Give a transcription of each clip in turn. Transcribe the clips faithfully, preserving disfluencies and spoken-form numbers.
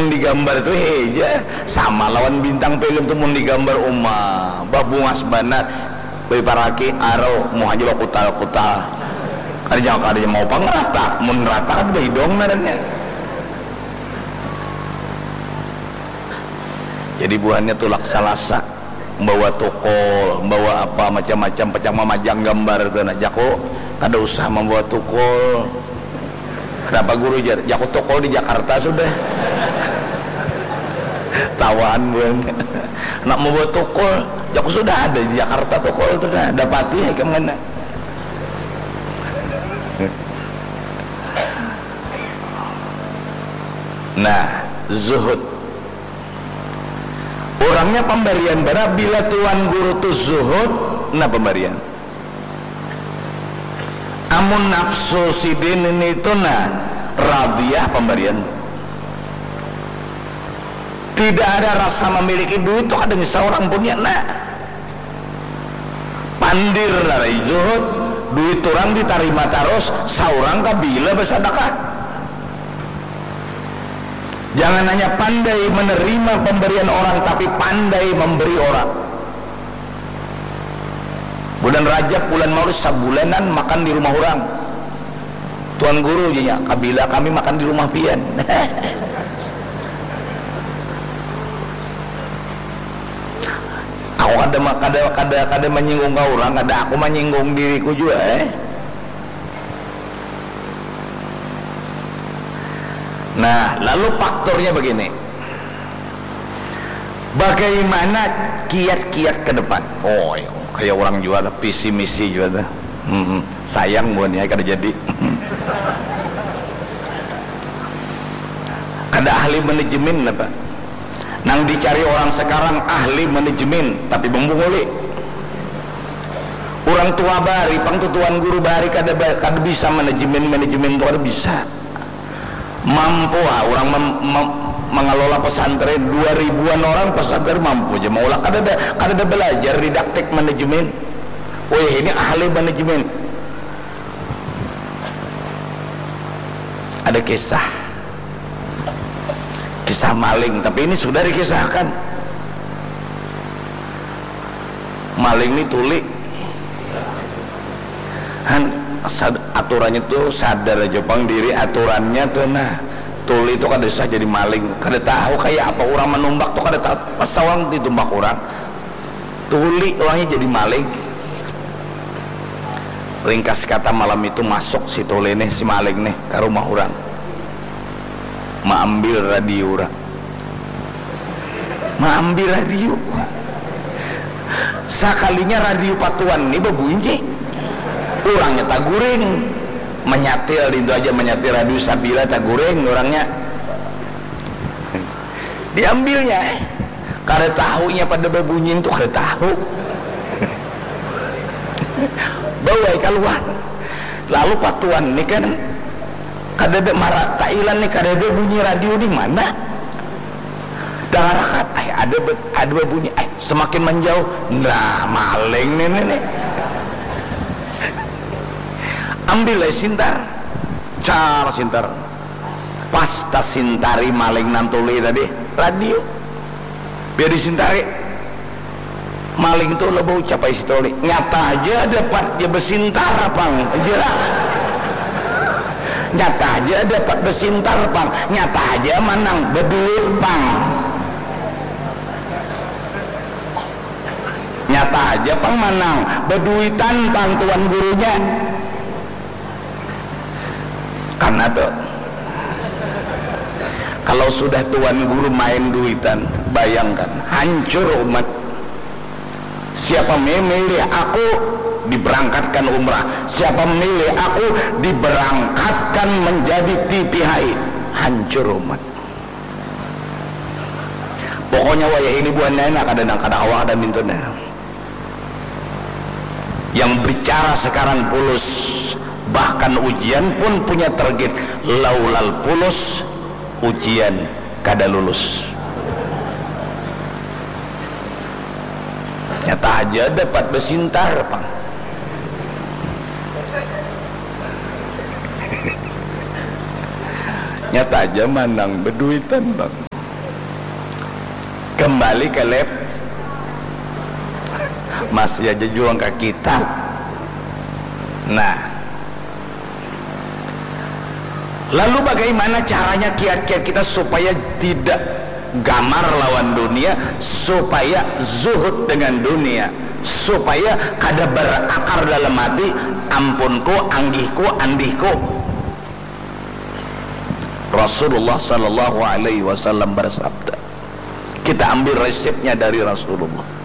Digambar tu heja sama lawan bintang film tu, mun digambar uma babungas banar, baiparaki arau muhanya bakutal-kutal, kada jang kada mau pang rata, mun rata kan bahidong ngarannya. Jadi buhannya tulak salasa. Bawa tukul, bawa apa macam-macam, pacang mamajang gambar tu nah. Jaku kada usah mambawa tukul. Kenapa guru jar? Jaku tukul di Jakarta sudah. Tawaan buhan. Nak membawa tukul, jaku sudah ada di Jakarta tukul tu nah. Dapati ya kemana. Nah, zuhud. Urangnya pambarian banar, bila tuan guru tu zuhud, nah pambarian. Amun nafsu sidin ini tu nah radiyah pambarian. Tidak ada rasa memiliki duit tu kada ngisau urang punya nah. Pandir narai zuhud, duit urang ditarima tarus, saurang kabila basadakah. Jangan hanya pandai menerima pemberian orang, tapi pandai memberi orang. Bulan Rajab, bulan Maulid, sabulanan makan di rumah orang. Tuan guru janya, kabila kami makan di rumah pian. Aku kada ma- kada kada kada menyinggung ka orang, kada aku menyinggung diriku juga eh. Nah, lalu faktornya begini. Bagaimana kiat-kiat ke depan? Oh, kayak orang jual visi misi juga tuh. Hmm, sayang buahnya kada jadi. Kada ahli manajemen apa? Nang dicari orang sekarang ahli manajemen tapi membunguli. Orang tua bari pang tutuan guru bari kada kada bisa manajemen manajemen tu kada bisa. Mampu ah orang mem, mem, mengelola pesantren dua ribuan orang pesantren mampu aja maulah kada ada kada ada belajar didaktik manajemen. Wih ini ahli manajemen. Ada kisah kisah maling tapi ini sudah dikisahkan. Maling ni tuli han sad, aturannya tu sadar aja pang diri aturannya tu nah tuli tu kada usah jadi maling kada tahu kayak apa orang menumbak tu kada tahu pas sawang ditumbak orang tuli orangnya jadi maling. Ringkas kata malam itu masuk si tuli nih si maling nih ke rumah orang maambil radio orang. Maambil radio. Sakalinya radio patuan ni babunyi. Urangnya taguring. Manyatil dintu aja manyatil radio sabila taguring urangnya. Diambilnya eh. Kada tahunya pada babunyi tu kada tahu. Bawai kaluar. Lalu patuan ni kan kadada mara kailan ni kadada bunyi radio di mana. Dangarakan ai ada ada bunyi ai semakin menjauh nah maling ni ni ni. Ambil ai sintar car sintar pas tasintari maling nantuli tadi radio biar disintari. Maling tu lah bau capai si toli. Nyata aja dapat ja besintar pang. Aja lah. Nyata aja dapat besintar pang. Nyata aja manang beduit pang. Nyata aja pang manang beduitan pang tuan gurunya. Karena tuh kalau sudah tuan guru main duitan, bayangkan hancur umat. Siapa memilih aku diberangkatkan umrah, siapa memilih aku diberangkatkan menjadi T P H I, hancur umat. Pokoknya wayah ini buhan nana kada nang kada awak ada mintuna. Yang bicara sekarang pulus, bahkan ujian pun punya target. Laulal pulus, ujian kada lulus. Nyata aja dapat besintar pang. Nyata aja manang beduitan bang. Kembali ke lab, masih aja juang ke kita. Nah, lalu bagaimana caranya kiat-kiat kita supaya tidak gamar lawan dunia, supaya zuhud dengan dunia, supaya kada berakar dalam hati, ampunku, anggihku, andihku. Rasulullah sallallahu alaihi wasallam bersabda, kita ambil resepnya dari Rasulullah.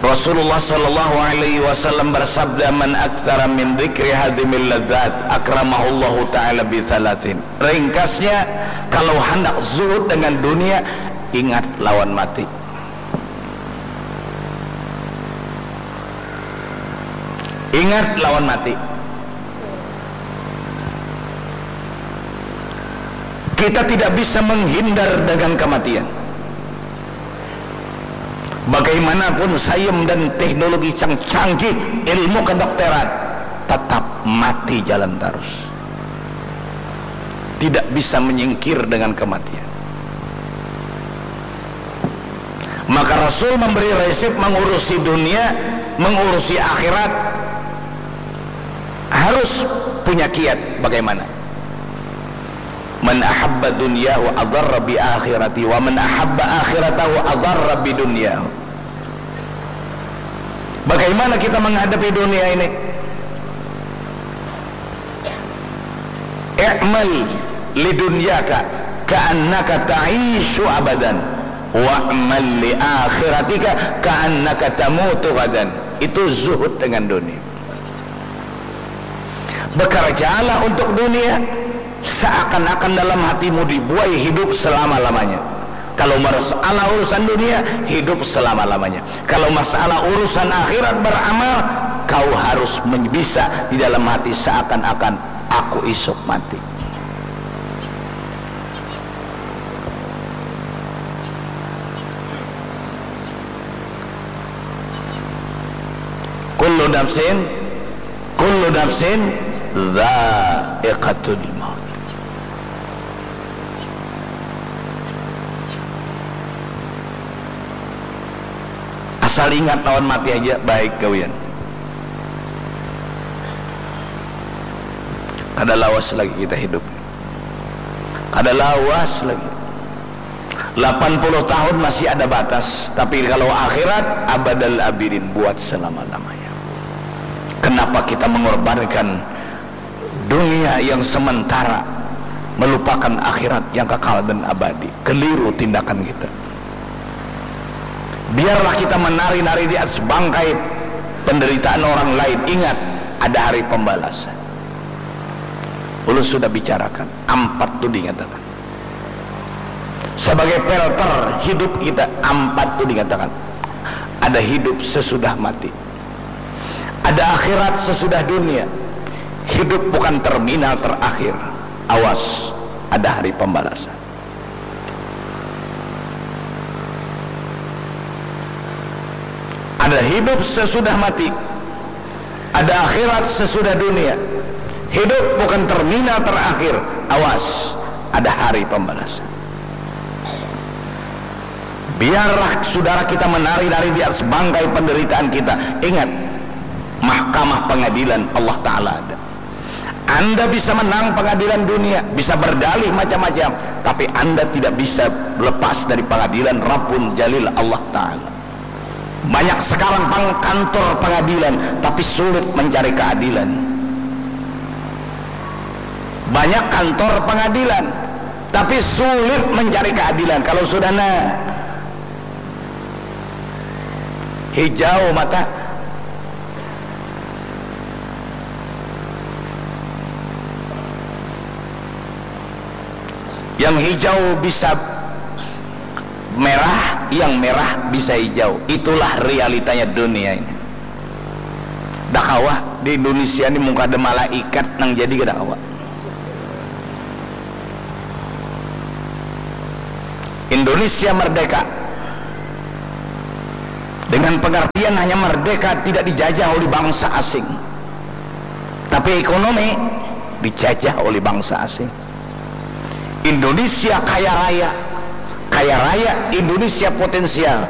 Rasulullah sallallahu alaihi wasallam bersabda, "Man aktsara min dzikri hadimil ladzat, akramahullahu ta'ala bi tsalatsin." Ringkasnya, kalau hendak zuhud dengan dunia, ingat lawan mati. Ingat lawan mati. Kita tidak bisa menghindar dengan kematian. Bagaimanapun sains dan teknologi yang canggih, ilmu kedokteran, tetap mati jalan terus. Tidak bisa menyingkir dengan kematian. Maka Rasul memberi resep mengurusi dunia, mengurusi akhirat, harus punya kiat bagaimana. "Man ahabba dunyahu adarra bi akhirati, wa man ahabba akhiratahu adarra bi dunyahu." Bagaimana kita menghadapi dunia ini? "I'mal lidunyaka ka'annaka ta'isyu abadan, wa'mal li akhiratika ka'annaka tamutu ghadan." Itu zuhud dengan dunia. Bekerjalah untuk dunia, seakan-akan dalam hatimu dibuai hidup selama-lamanya. Kalau masalah urusan dunia, hidup selama-lamanya. Kalau masalah urusan akhirat beramal, kau harus men-, bisa di dalam hati seakan-akan aku isuk mati. Kullu nafsin, kullu nafsin dzaiqatul maut. Asal ingat lawan mati aja, baik gawian. Kada lawas lagi kita hidup. Kada lawas lagi. Lapan puluh tahun masih ada batas, tapi kalau akhirat, abadal abidin, buat selama-lamanya. Kenapa kita mengorbankan dunia yang sementara, melupakan akhirat yang kekal dan abadi? Keliru tindakan kita. Biarlah kita menari-nari di atas bangkai penderitaan orang lain. Ingat, ada hari pembalasan. Ulun sudah bicarakan, ampat tu dinyatakan. Sebagai filter hidup kita, ampat tu dinyatakan. Ada hidup sesudah mati. Ada akhirat sesudah dunia. Hidup bukan terminal terakhir. Awas, ada hari pembalasan. Ada hidup sesudah mati. Ada akhirat sesudah dunia. Hidup bukan terminal terakhir. Awas, ada hari pembalasan. Biarlah saudara kita menari-nari di atas bangkai penderitaan kita. Ingat, mahkamah pengadilan Allah Ta'ala ada. Anda bisa menang pengadilan dunia, bisa berdalih macam-macam, tapi Anda tidak bisa lepas dari pengadilan Rabbun Jalil, Allah Ta'ala. Banyak sekarang pang kantor pengadilan, tapi sulit mencari keadilan. Banyak kantor pengadilan, tapi sulit mencari keadilan. Kalau sudah na hijau mata, yang hijau bisa merah, yang merah bisa hijau. Itulah realitanya dunia ini. Dah kawa di Indonesia ni, mun kada malaikat nang jadi, kada kawa. Indonesia merdeka, Dengan pengertian hanya merdeka, tidak dijajah oleh bangsa asing. Tapi ekonomi dijajah oleh bangsa asing. Indonesia kaya raya, kaya raya Indonesia potensial,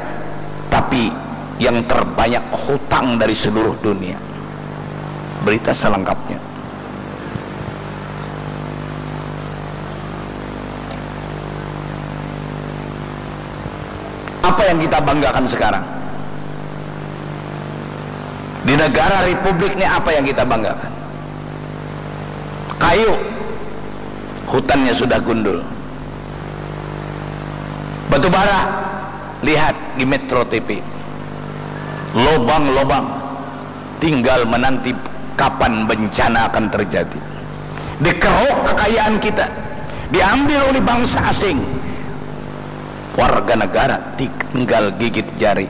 tapi yang terbanyak hutang dari seluruh dunia. Berita selengkapnya. Apa yang kita banggakan sekarang? Di negara republik ini apa yang kita banggakan? Kayu, hutannya sudah gundul. Batu bara, lihat di Metro T V. Lobang-lobang, tinggal menanti kapan bencana akan terjadi. Dikeruk kekayaan kita, diambil oleh bangsa asing. Warga negara tinggal gigit jari.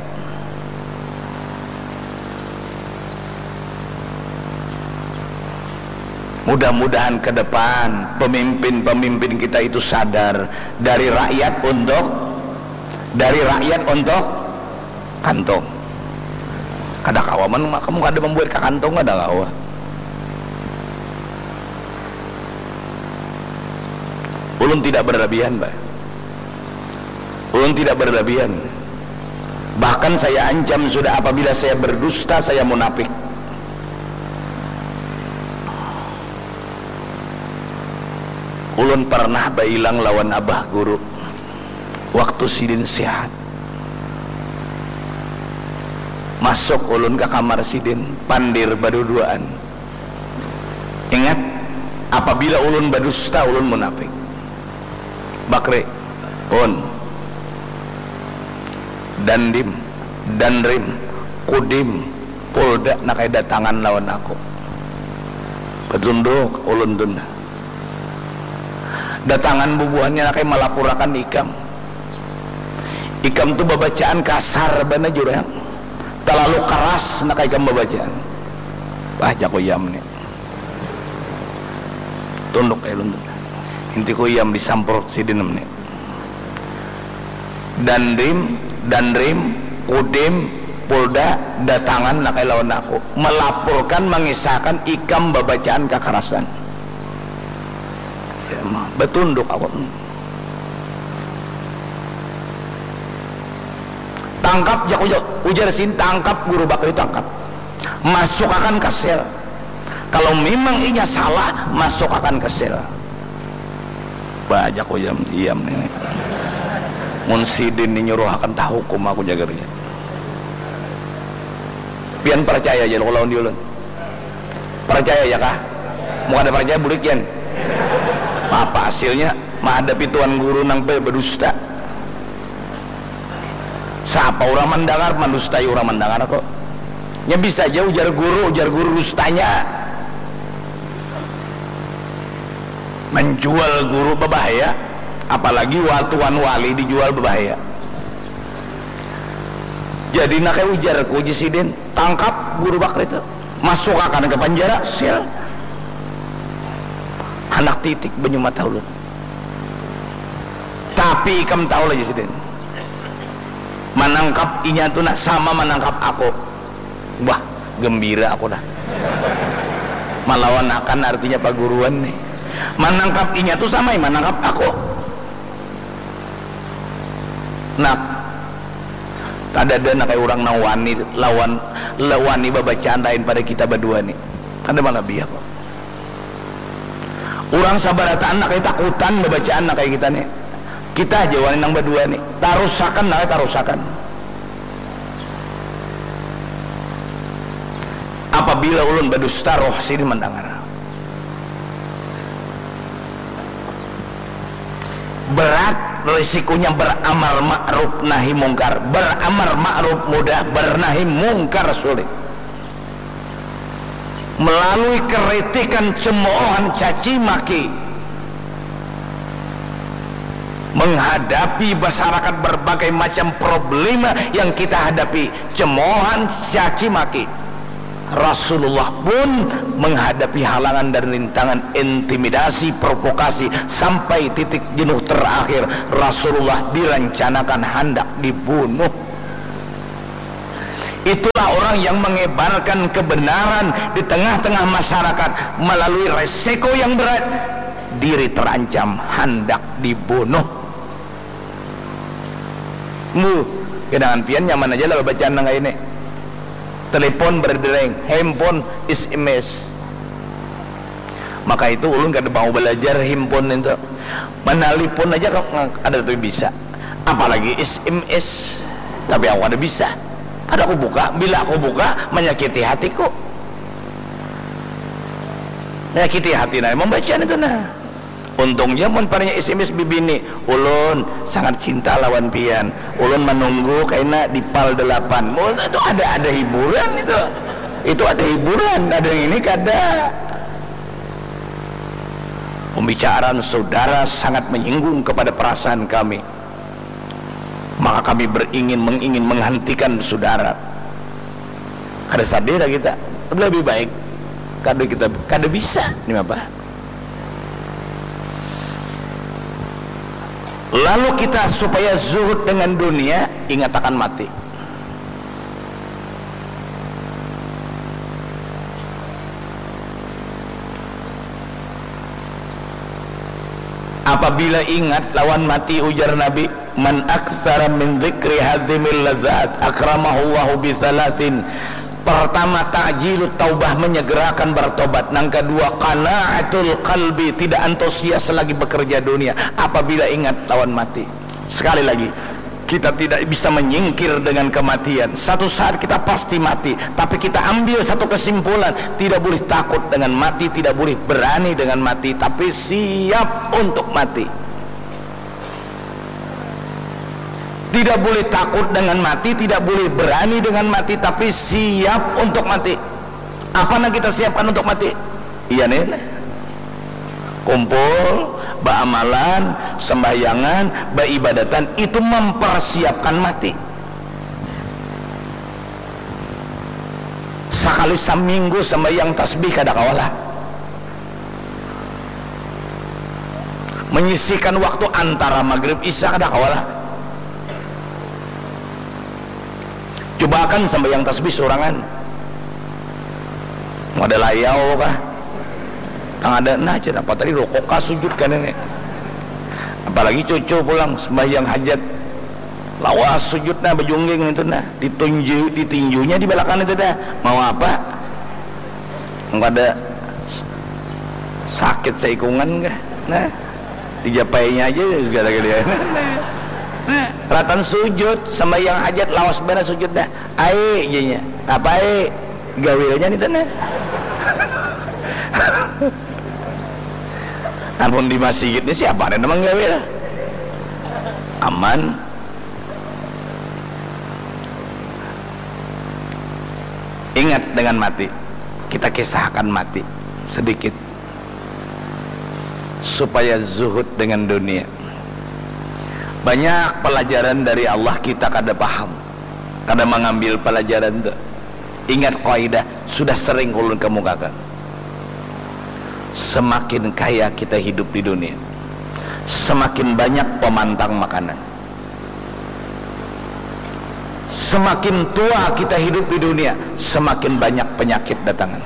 Mudah-mudahan ke depan pemimpin-pemimpin kita itu sadar, dari rakyat untuk, dari rakyat untuk kantong. Kada kawa man, kamu kada membuat ka kantong, kada kawa. Ulun tidak berlebihan, Pak. Ulun tidak berlebihan. Bahkan saya ancam sudah, apabila saya berdusta, saya munafik. Ulun pernah bailang lawan abah guru waktu sidin sehat. Masuk ulun ka kamar sidin, pandir baduduaan. Ingat, apabila ulun badusta, ulun munafik. Bakri, Un, Dandim, Danrim, Kudim, Polda, nakai datangan lawan aku. Batunduk ulun tu nah. Datangan bubuhannya nakai malapurakan ikam. Ikam tu babacaan kasar banar, jurang. Talalu karas nakai ikam babacaan. Bah, jaku Yam ni. Tunduk ai ulun tu. Intiku Yam disamprot sidin ni. Dandim, Danrim, Kudim, Polda datangan nakai lawan aku, malapurkan, mangisahkan ikam babacaan kakarasan. Ya, ma-, batunduk aku. Tangkap, jak ujar, ujar sidin, tangkap Guru Bakri, tangkap. Masukakan ka sel. Kalau memang inya salah, masukakan ka sel. Bah, jak ujar Yam ini. Mun sidin ni nyuruhakan, tahukum aku, jagarnya. Pian percaya ja lawan diulun. Percaya ja kah? Mun kada percaya, bulik pian. Apa hasilnya menghadapi tuan guru nang be-, bedusta? Siapa urang mandangar, mandustai urang mandangar kok. Nya bisa ja ujar guru, ujar guru dustanya. Menjual guru babahaya, apalagi wa-, tuan wali dijual babahaya. Jadi, nakai ujarku, ujar sidin, tangkap Guru Bakri tu, masukakan ka panjara, sel. Handak titik banyu mata ulun. Tapi ikam tahu lah, ujar sidin, manangkap inya tu nah sama manangkap aku. Wah, gembira aku dah. Malawanakan artinya paguruan nih. Manangkap inya tu sama manangkap aku. Nah, kadada nakai urang nang wani lawan, la-, wani babacaan lain pada kita badua ni. Kada malabih aku. Urang sabarataan nakai takutan babacaan nakai kita ni. Kita haja wani nang badua ni. Tarusakan nakai tarusakan. Apabila ulun badusta, roh sidin mandangar. Berat risikonya beramar ma'ruf nahi mungkar. Beramar ma'ruf mudah, bernahi mungkar sulit. Melalui kritikan, cemoohan, caci maki, menghadapi masyarakat berbagai macam problema yang kita hadapi, cemoohan, caci maki, Rasulullah pun menghadapi halangan dan rintangan, intimidasi, provokasi, sampai titik jenuh terakhir Rasulullah direncanakan hendak dibunuh. Itulah orang yang mengebarkan kebenaran di tengah-tengah masyarakat melalui resiko yang berat, diri terancam, handak dibunuh. Mu, gedangan pian nyaman aja lah bacaan nang ini. Telepon berdereng, handphone S M S. Maka itu ulun kada mau belajar handphone itu. Menelpon aja kada tuh bisa. Apalagi S M S. Tapi aku kada bisa. Kada aku buka, bila aku buka menyakiti hatiku. Menyakiti hati nah membaca itu nah. Untungnya mun parnya S M S bibini, ulun sangat cinta lawan pian. Ulun menunggu kaina di pal delapan. Mun itu ada ada hiburan itu. Itu ada hiburan, ada yang ini kada. Pembicaraan saudara sangat menyinggung kepada perasaan kami. Maka kami beringin mengingin menghentikan saudara. Kada sadar kita. Lebih baik kada kita kada bisa ini apa? Lalu kita supaya zuhud dengan dunia, ingatakan mati. Apabila ingat lawan mati, ujar Nabi, "Man aktsara min dzikri hadzimil ladzat akramahullahu bi tsalatsin." Pertama, ta'jilut taubah, menyegerakan bertobat. Nang kedua, qana'atul qalbi, tidak antusias lagi bekerja dunia apabila ingat lawan mati. Sekali lagi, kita tidak bisa menyingkir dengan kematian. Satu saat kita pasti mati, tapi kita ambil satu kesimpulan, tidak boleh takut dengan mati, tidak boleh berani dengan mati, tapi siap untuk mati. Tidak boleh takut dengan mati, tidak boleh berani dengan mati, tapi siap untuk mati. Apa yang kita siapkan untuk mati? Iya nih. Kumpul, baamalan, sembahyangan, baibadatan, itu mempersiapkan mati. Sakali saminggu sembahyang tasbih kada kawa lah. Menyisihkan waktu antara maghrib isya kada kawa lah. Cobaakan sambahyang tasbih sorangan. Kada layau kah? Tang ada nah, jar apa tadi, rukuk kah sujud kah ini? Apalagi cucu pulang sembahyang hajat. Lawas sujud nah, bajungging itu nah, ditunju ditinjunya di belakang itu dah. Mau apa? Kada sakit seikungan kah? Nah, dijapainya aja gara-gara dia. Nah, ratan sujud, sembahyang hajat, lawas banar sujud dah. Ai janya. Apa ai? Gawilnya nih tanah. Amun di masjid ini siapa ada nama gawil? Aman. Ingat dengan mati. Kita kisahkan mati sedikit supaya zuhud dengan dunia. Banyak pelajaran dari Allah kita kada paham, kada mengambil pelajaran tu. Ingat kaidah sudah sering ulun kemukakan. Semakin kaya kita hidup di dunia, semakin banyak pemantang makanan. Semakin tua kita hidup di dunia, semakin banyak penyakit datangan.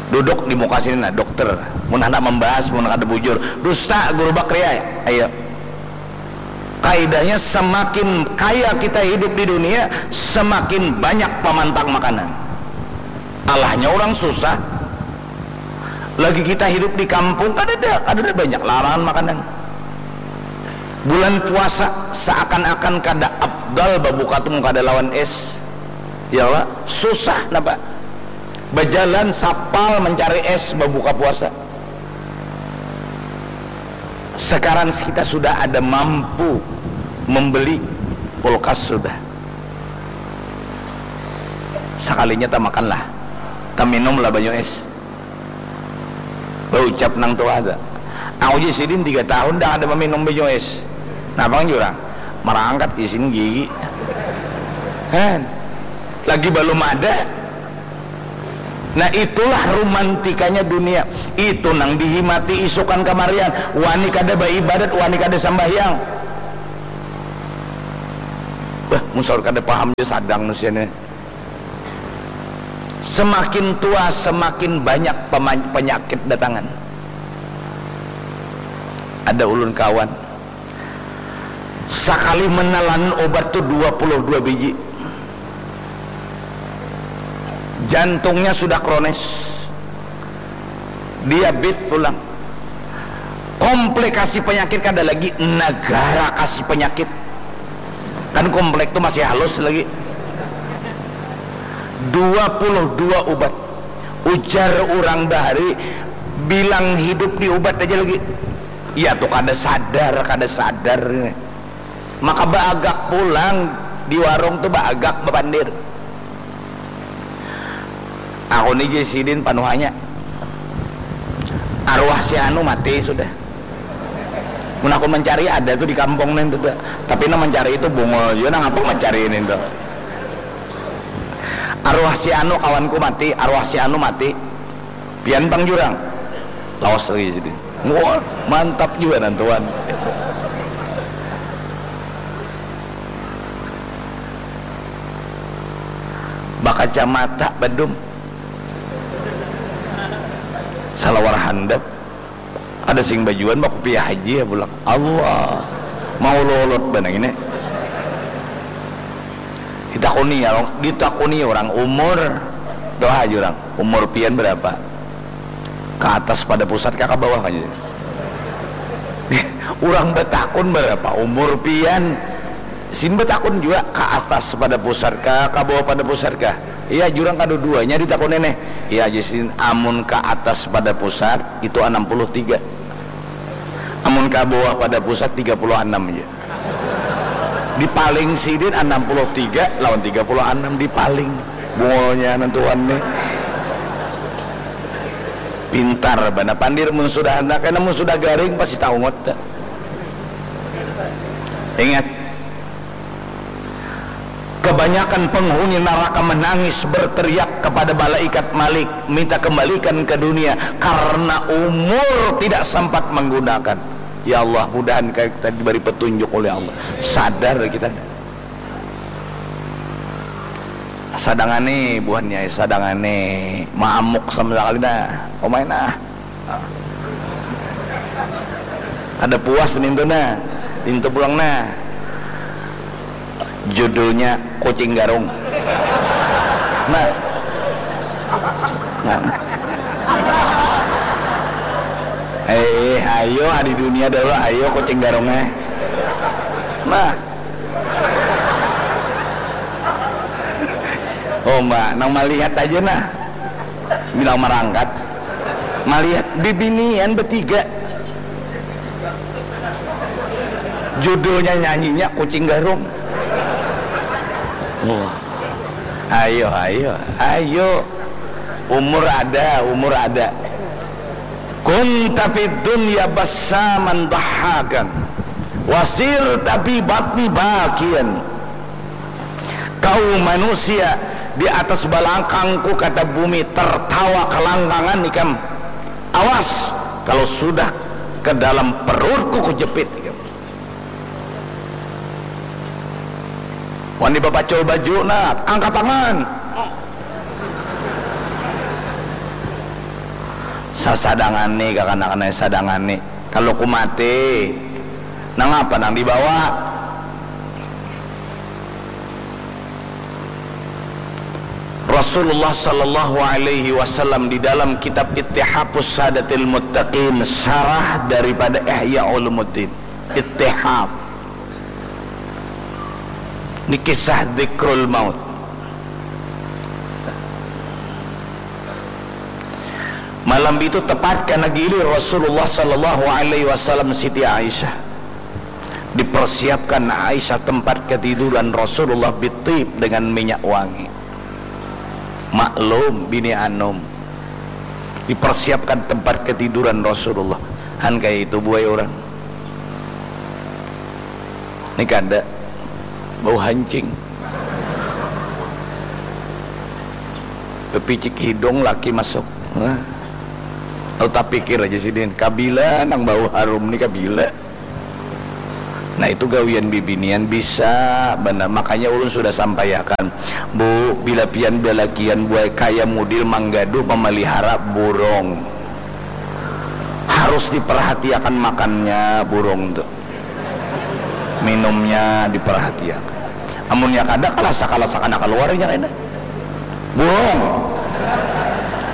Duduk di muka sini nah dokter, mun hendak membahas mun kada bujur, dusta guru bakria. Ayo. Kaidahnya semakin kaya kita hidup di dunia, semakin banyak pemantang makanan. Alahnya orang susah. Lagi kita hidup di kampung, kada ada, kada ada banyak larangan makanan. Bulan puasa seakan-akan kada afdal babuka tu kada lawan es. Ya Allah, susah napa? Bajalan sapal mencari es babuka puasa. Sekarang kita sudah ada mampu membeli kulkas sudah. Sekalinya tamakanlah, taminumlah banyu es. Baucap nang tua tu. Aku ja sidin tiga tahun dah ada meminum banyu es. Nah, pang jurang merangkat isin gigi. Kan? Lagi belum ada. Nah, itulah romantikanya dunia. Itu nang dihimati isukan kamarian. Wani kada baibadat, wani kada sambahyang. Bah, Mun saur kada paham ja sadang nusian ni. Semakin tua, semakin banyak pema-, penyakit datangan. Ada ulun kawan, sakali menelan obat tu dua puluh dua biji. Jantungnya sudah kronis. Diabit pulang. Komplikasi penyakit kada lagi, negara kasih penyakit. Kan komplek tu masih halus lagi. Dua puluh dua ubat. Ujar urang bahari, bilang hidup di ubat aja lagi. Ya tu kada sadar, kada sadar. Maka baagak pulang di warung tu, baagak bapandir. Aku ni ja sidin panuhanya. Arwah si anu mati sudah. Mun aku mencari ada tu di kampung nih tu. Tapi nang mencari itu bungul jua, nang apa mencari ini tu. Arwah si anu kawanku mati, arwah si anu mati. Pian pang jurang. Lawas lagi sidin. Wah, mantap jua nantuan. Bakacamata badum. Salawar handap. Ada sing bajuan bakupiah haji ya pulang. Allah. Mau lolot banang ini. Ditakuni ya, ditakuni orang umur. Tuh aja orang. Umur pian berapa? Ke atas pada pusat kah, ke bawah aja. Urang batakun berapa umur pian. Sin batakun jua, ke atas pada pusat kah, ke bawah pada pusat kah. Iya, jurang kadua-duanya ditakuni nih. Iya aja sin, amun ke atas pada pusat itu enam puluh tiga. Amun ke bawah pada pusat tiga puluh enam aja. Dipaling sidin enam puluh tiga lawan tiga puluh enam dipaling. Bungulnya nantuan nih. Pintar bana pandir mun sudah anak, karena mun sudah garing pasti taungut. Ingat, kebanyakan penghuni neraka menangis berteriak kepada malaikat Malik, minta kembalikan ke dunia karena umur tidak sempat menggunakan. Ya Allah, mudahan kita diberi petunjuk oleh Allah. Sadar kita. Sadangani buhannya, sadangani maamuk sama sekali nah. Pemain nah. Ada puas nintu nah. Nintu pulang nah. Judulnya Kucing Garung. Nah. Nah. Eh, eh, ayo, ah, di dunia dulu, ayo, Kucing Garung, eh. Nah. Oh, Mbak, nang malihat aja, nah. Bilang marangkat. Malihat bibinian betiga. Judulnya nyanyinya Kucing Garung. Wah. Ayo, ayo, ayo. Umur ada, umur ada. Kunta fid dunya bassaman dhahhakan. Wasirta fi batni bakian. Kau manusia di atas balangkangku, kata bumi, tertawa kelangkangan ikam. Awas, kalau sudah ke dalam perutku kujepit ikam. Wani bapacul baju, nah, angkat tangan. Sasadangani, kakanakan ai, sadangani. Kalau ku mati, nangapa nang dibawa? Rasulullah sallallahu alaihi wasallam di dalam kitab Ittihafus Sadatil Muttaqin, syarah daripada Ihya Ulumuddin. Ittihaf. Ini kisah dzikrul maut. Malam itu tepat kena gilir Rasulullah sallallahu alaihi wasallam Siti Aisyah. Dipersiapkan Aisyah tempat ketiduran Rasulullah bitib dengan minyak wangi. Maklum, bini anum. Dipersiapkan tempat ketiduran Rasulullah. Han kaya itu buai orang. Ni kada. Bau hancing. Bepicik hidung laki masuk. Nah. Lalu tapikir aja sidin, kabila nang bau harum ni, kabila? Nah, itu gawian bibinian bisa banar. Makanya ulun sudah sampaiakan, Bu, bila pian balakian buai kaya mudil manggaduh mamalihara burung, harus diperhatiakan makannya burung tu, minumnya diperhatiakan. Amunnya kada, kalasa-kalasa kana kaluar inya kena. Burung.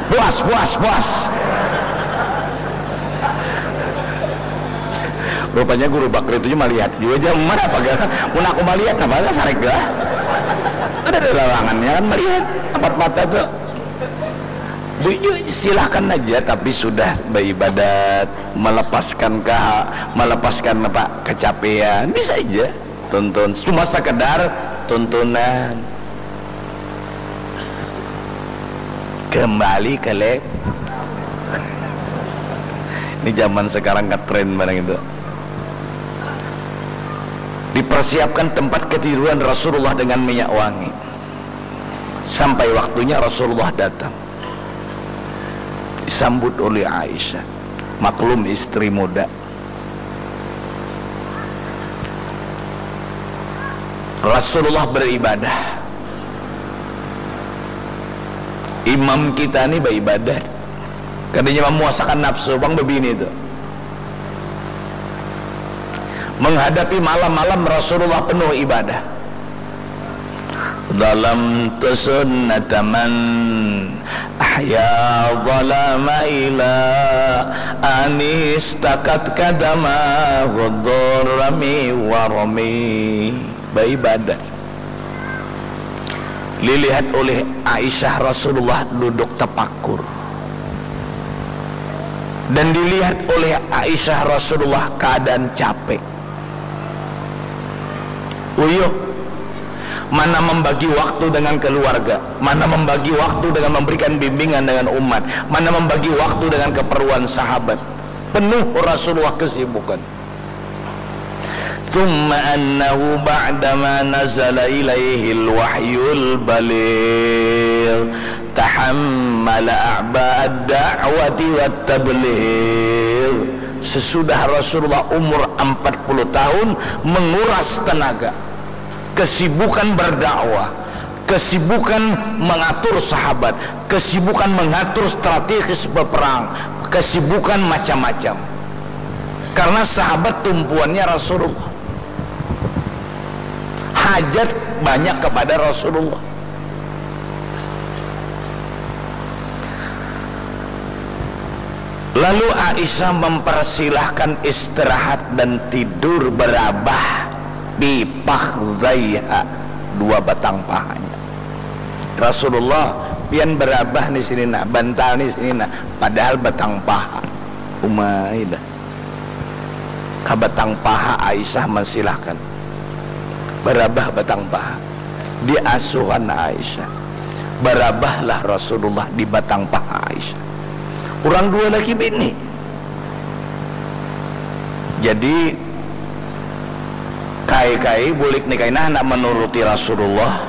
Buas, buas, buas. Rupanya Guru Bakri itu melihat juga jam mana apa gak? Mun aku melihat apa gak sarek gak? Ada larangannya kan melihat empat mata tuh. Bu, yuk, silahkan aja, tapi sudah beribadat, melepaskan ke melepaskan apa kecapean, bisa aja. Tonton, cuma sekedar tontonan. Kembali ke lab. Ini zaman sekarang ngetren barang itu. Dipersiapkan tempat ketiduran Rasulullah dengan minyak wangi. Sampai waktunya Rasulullah datang. Disambut oleh Aisyah. Maklum, istri muda. Rasulullah beribadah. Imam kita ni beribadah. Kadanya memuasakan nafsu, bang, bebini tu. Menghadapi malam-malam Rasulullah penuh ibadah. Zalamtu sunnata man ahya zalama ila anis takat kadama hudurami warami. Beribadah. Dilihat oleh Aisyah Rasulullah duduk tepakur. Dan dilihat oleh Aisyah Rasulullah keadaan capek. Uyuh, mana membagi waktu dengan keluarga, mana membagi waktu dengan memberikan bimbingan dengan umat, mana membagi waktu dengan keperluan sahabat. Penuh Rasulullah kesibukan. Thumma annahu ba'dama nazala ilaihil wahyul baligh tahammala a'ba'ad da'wati wat tabligh. Sesudah Rasulullah umur empat puluh tahun menguras tenaga, kesibukan berdakwah, kesibukan mengatur sahabat, kesibukan mengatur strategis berperang, kesibukan macam-macam. Karena sahabat tumpuannya Rasulullah. Hajat banyak kepada Rasulullah. Lalu Aisyah mempersilahkan istirahat dan tidur berabah di fakhdzaiha, dua batang pahanya. Rasulullah, pian berabah di sini nah, bantal di sini nah, padahal batang paha. Umai dah. Ka batang paha Aisyah mensilahkan. Berabah batang paha. Diasuhan Aisyah. Berabahlah Rasulullah di batang paha Aisyah. Urang dua laki bini. Jadi, kai-kai bulik ni kaina handak menuruti Rasulullah.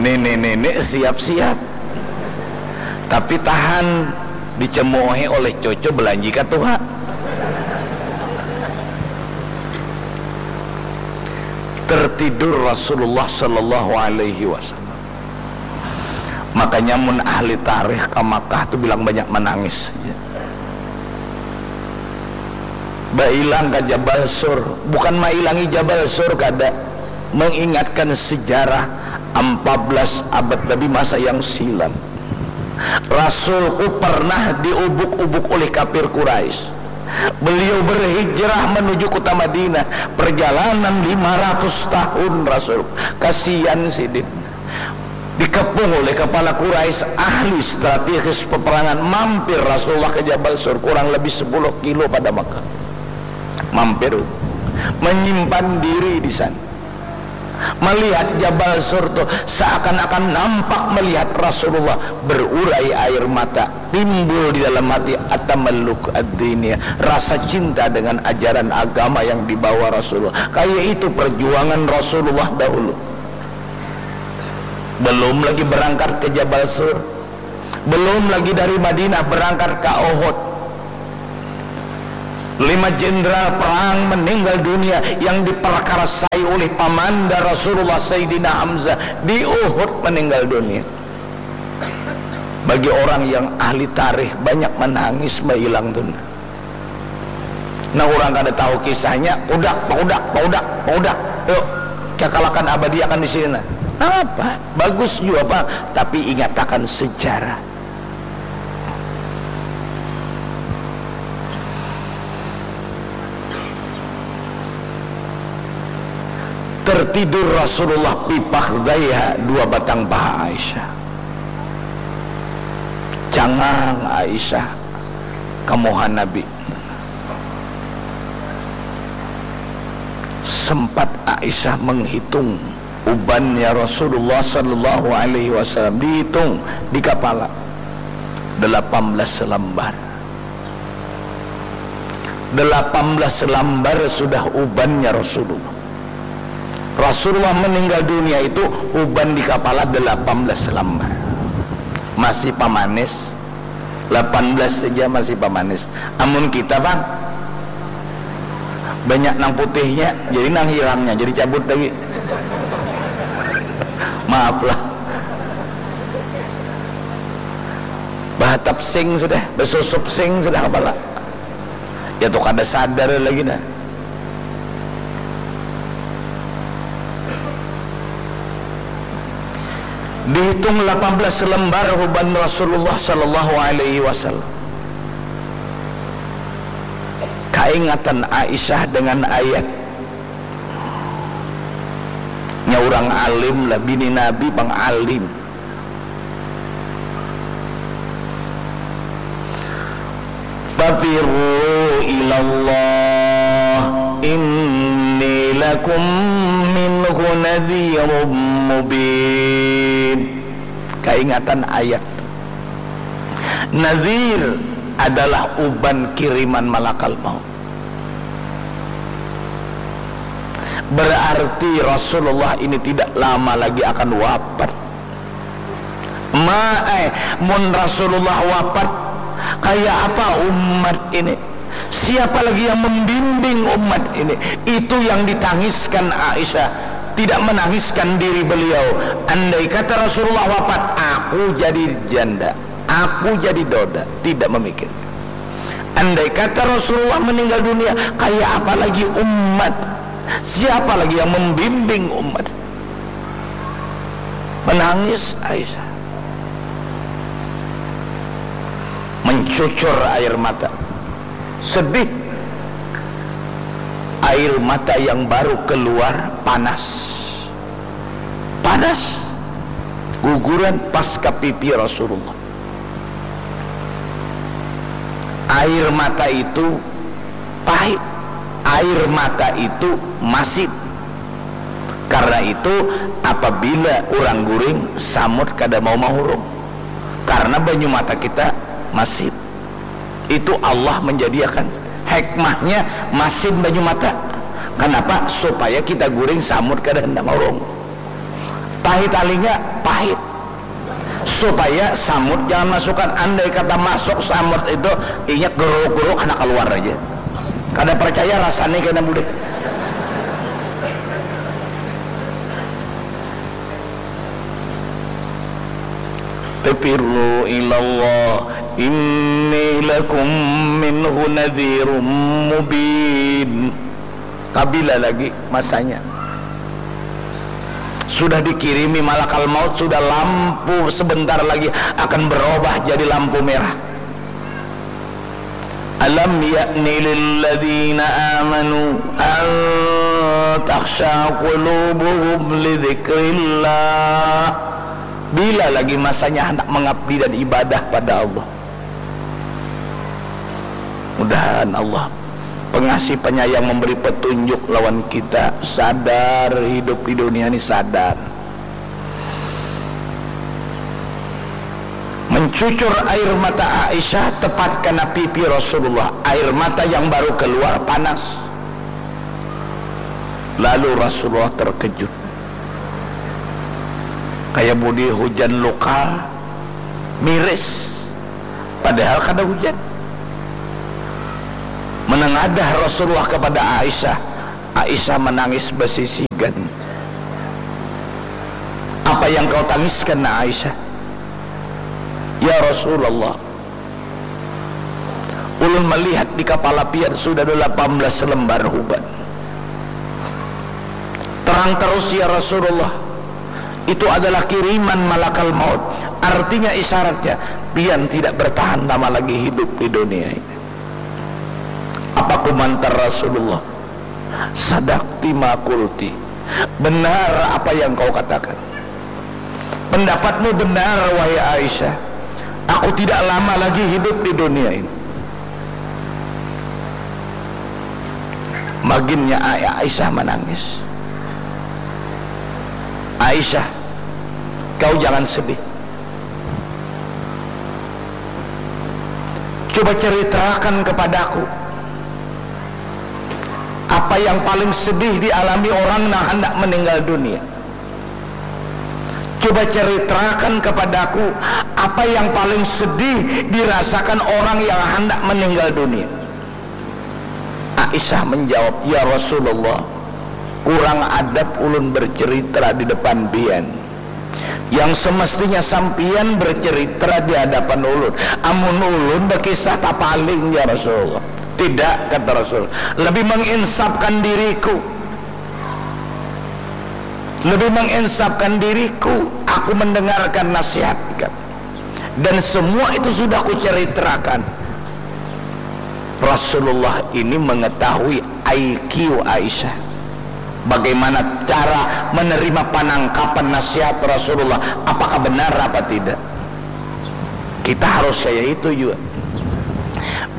Nini-nini siap-siap. Tapi tahan, dicemoohi oleh cucu belanji ka tuha. Tertidur Rasulullah sallallahu alaihi wasallam. Makanya mun ahli tarikh ka Makkah tu bilang banyak manangis. Bailang ka Jabal Sur, bukan mailangi Jabal Sur kada, mengingatkan sejarah empat belas abad lebih masa yang silam. Rasulku pernah diubuk-ubuk oleh kafir Quraisy. Beliau berhijrah menuju kota Madinah, perjalanan lima ratus tahun Rasul. Kasihan sidin. Dikepung oleh kepala Quraisy, ahli strategis peperangan, mampir Rasulullah ke Jabal Sur, kurang lebih sepuluh kilo pada Makkah. Mampir, menyimpan diri di sana. Melihat Jabal Sur tu seakan-akan nampak melihat Rasulullah, berurai air mata, timbul di dalam hati atamalluk ad-diniyah, rasa cinta dengan ajaran agama yang dibawa Rasulullah. Kayak itu perjuangan Rasulullah dahulu. Belum lagi berangkat ke Jabal Sur. Belum lagi dari Madinah berangkat ke Uhud. Lima jenderal perang meninggal dunia yang diperkarasai oleh pamanda Rasulullah, Sayyidina Hamzah, di Uhud meninggal dunia. Bagi orang yang ahli tarikh, banyak menangis bahilang tu nah. Nah, urang kada tahu kisahnya, udak, paudak, paudak, paudak. Yuk, kekalakan abadiakan di sini nah. Napa? Bagus jua pang, tapi ingatakan sejarah. Tertidur Rasulullah fi fakhdhaiha, dua batang paha Aisyah. Cangang Aisyah ka muha Nabi. Sempat Aisyah menghitung ubannya Rasulullah sallallahu alaihi wasallam, dihitung di kapala, delapan belas lembar. Delapan belas lembar sudah ubannya Rasulullah. Rasulullah meninggal dunia itu uban di kapala delapan belas lembar. Masih pamanis. Delapan belas saja masih pamanis. Amun kita, Bang, banyak nang putihnya, jadi nang hirangnya, jadi cabut lagi. Maaf lah. Bahatap sing sudah, basusup sing sudah kapala. Ya tu kada sadar lagi nah. Dihitung delapan belas lembar uban Rasulullah sallallahu alaihi wasallam. Kaingatan Aisyah dengan ayat. Nya urang alim lah, bini Nabi pang alim. Fafirru ilallah, inni lakum minhu nadhirum mubin. Kaingatan ayat. Nadhir adalah uban kiriman malakal maut. Berarti Rasulullah ini tidak lama lagi akan wafat. Ma, eh, mun Rasulullah wafat, kaya apa umat ini? Siapa lagi yang membimbing umat ini? Itu yang ditangiskan Aisyah. Tidak menangiskan diri beliau. Andai kata Rasulullah wafat, aku jadi janda, aku jadi doda. Tidak memikirkan. Andai kata Rasulullah meninggal dunia, kaya apa lagi umat? Siapa lagi yang membimbing umat? Menangis Aisyah. Mencucur air mata. Sedih. Air mata yang baru keluar panas. Panas. Guguran pas ka pipi Rasulullah. Air mata itu pahit. Air mata itu masin. Karena itu, apabila urang guring, samut kada mau mahurung. Karena banyu mata kita masin. Itu Allah menjadiakan hikmahnya masin banyu mata. Kenapa? Supaya kita guring, samut kada hendak mahurung. Tahi talinga, pahit. Supaya samut jangan masukan. Andai kata masuk samut itu, inya geruk-geruk handak kaluar aja. Kada percaya, rasani kena bulik. Fafirru ilallah, inni lakum minhu nadhirum mubin. Kabila lagi masanya? Sudah dikirimi malakal maut, sudah lampu sebentar lagi akan berubah jadi lampu merah. Alam ya'ni lilladzina amanu an takhsha qulubuhum lidzikrillah. Bila lagi masanya hendak mengabdi dan ibadah pada Allah? Mudahan Allah pengasih penyayang memberi petunjuk lawan kita sadar hidup di dunia ini, sadar. Mencucur air mata Aisyah tepat kena pipi Rasulullah. Air mata yang baru keluar panas. Lalu Rasulullah terkejut. Kayak budi hujan lokal, miris. Padahal kada hujan. Menengadah Rasulullah kepada Aisyah, Aisyah menangis besisigan. "Apa yang kau tangiskan, Aisyah?" "Ya Rasulullah, ulun melihat di kapala pian sudah ada delapan belas lembar huban. Terang terus, ya Rasulullah, itu adalah kiriman malakal maut. Artinya, isyaratnya, pian tidak bertahan lama lagi hidup di dunia ini." Apa komentar Rasulullah? "Sadaqti ma qulti. Benar apa yang kau katakan. Pendapatmu benar, wahai Aisyah. Aku tidak lama lagi hidup di dunia ini." Maginnya Ai-, Aisyah menangis. "Aisyah, kau jangan sedih. Coba ceritakan kepadaku apa yang paling sedih dialami orang nang handak meninggal dunia. Coba ceritakan kepadaku apa yang paling sedih dirasakan orang yang handak meninggal dunia." Aisyah menjawab, "Ya Rasulullah, kurang adab ulun bercerita di depan pian. Yang semestinya sampian bercerita di hadapan ulun. Amun ulun bakisah tapaling, ya Rasulullah. Tidak," kata Rasul, "lebih menginsafkan diriku. Lebih menginsafkan diriku, aku mendengarkan nasihat." Dan semua itu sudah kuceritakan. Rasulullah ini mengetahui I Q Aisyah. Bagaimana cara menerima penangkapan nasihat Rasulullah, apakah benar apa tidak. Kita harus kayak itu juga.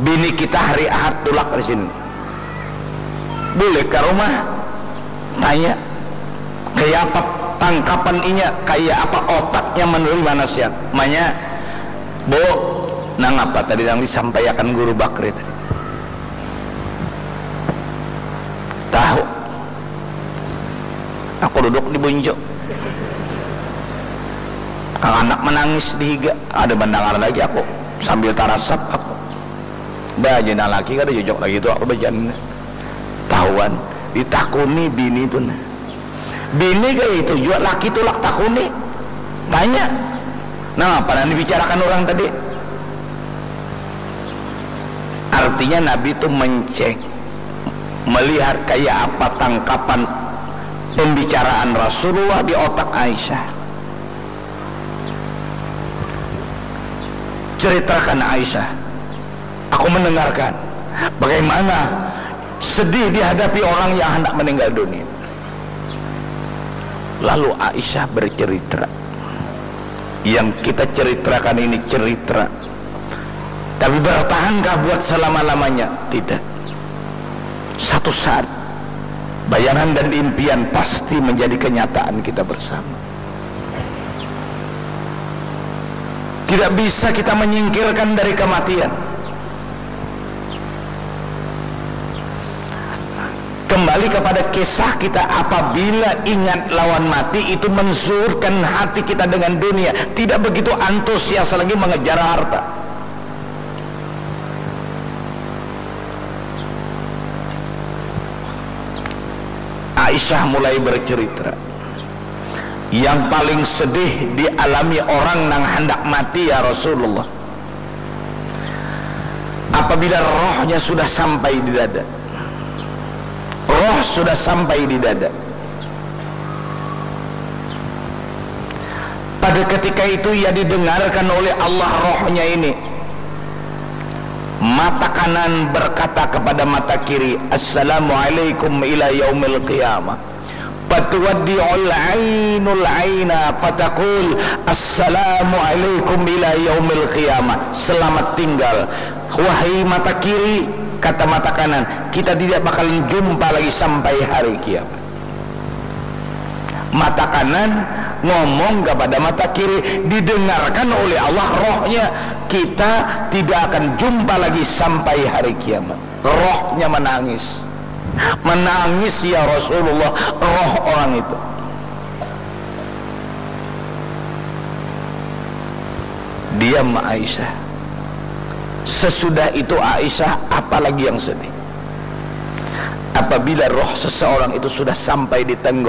Bini kita hari Ahad tulak di sini. Boleh ke rumah, tanya, kayak apa tangkapan inya, kayak apa otaknya menerima nasihat. Manya, "Bu, nang apa tadi nang disampaikan Guru Bakri tadi?" "Tahu. Aku duduk di buncu. Anak menangis di higa. Ada mendengar lagi aku. Sambil tarasap aku. Dah, aja nang laki kada cocok lagi tu aku bacaan." Tahuan, ditakuni bini tu nah. Bini kaya itu jua, laki tulak takuni. Tanya, "Nang apa nang dibicarakan orang tadi?" Artinya Nabi tu mencek, melihat kaya apa tangkapan pembicaraan Rasulullah di otak Aisyah. "Ceritakan, Aisyah. Aku mendengarkan bagaimana sedih dihadapi orang yang hendak meninggal dunia." Lalu Aisyah bercerita. Yang kita ceritakan ini cerita. Tapi bertahankah buat selama-lamanya? Tidak. Satu saat, bayangan dan impian pasti menjadi kenyataan kita bersama. Tidak bisa kita menyingkirkan dari kematian. Kembali kepada kisah kita, apabila ingat lawan mati, itu mensurutkan hati kita dengan dunia. Tidak begitu antusias lagi mengejar harta. Aisyah mulai bercerita, "Yang paling sedih dialami orang nang handak mati, ya Rasulullah, apabila rohnya sudah sampai di dada. Roh sudah sampai di dada. Pada ketika itu ia didengarkan oleh Allah rohnya ini. Mata kanan berkata kepada mata kiri, 'Assalamualaikum ila yaumil qiyamah.' Fatuwaddi'ul ainul aina fataqul, 'Assalamualaikum ila yaumil qiyamah.'" Selamat tinggal, wahai mata kiri, kata mata kanan, kita tidak bakalan jumpa lagi sampai hari kiamat. Mata kanan ngomong kepada mata kiri, didengarkan oleh Allah rohnya, kita tidak akan jumpa lagi sampai hari kiamat. Rohnya menangis. Menangis, ya Rasulullah, roh orang itu. Diam Aisyah. Sesudah itu Aisyah, apalagi yang sedih? Apabila roh seseorang itu sudah sampai di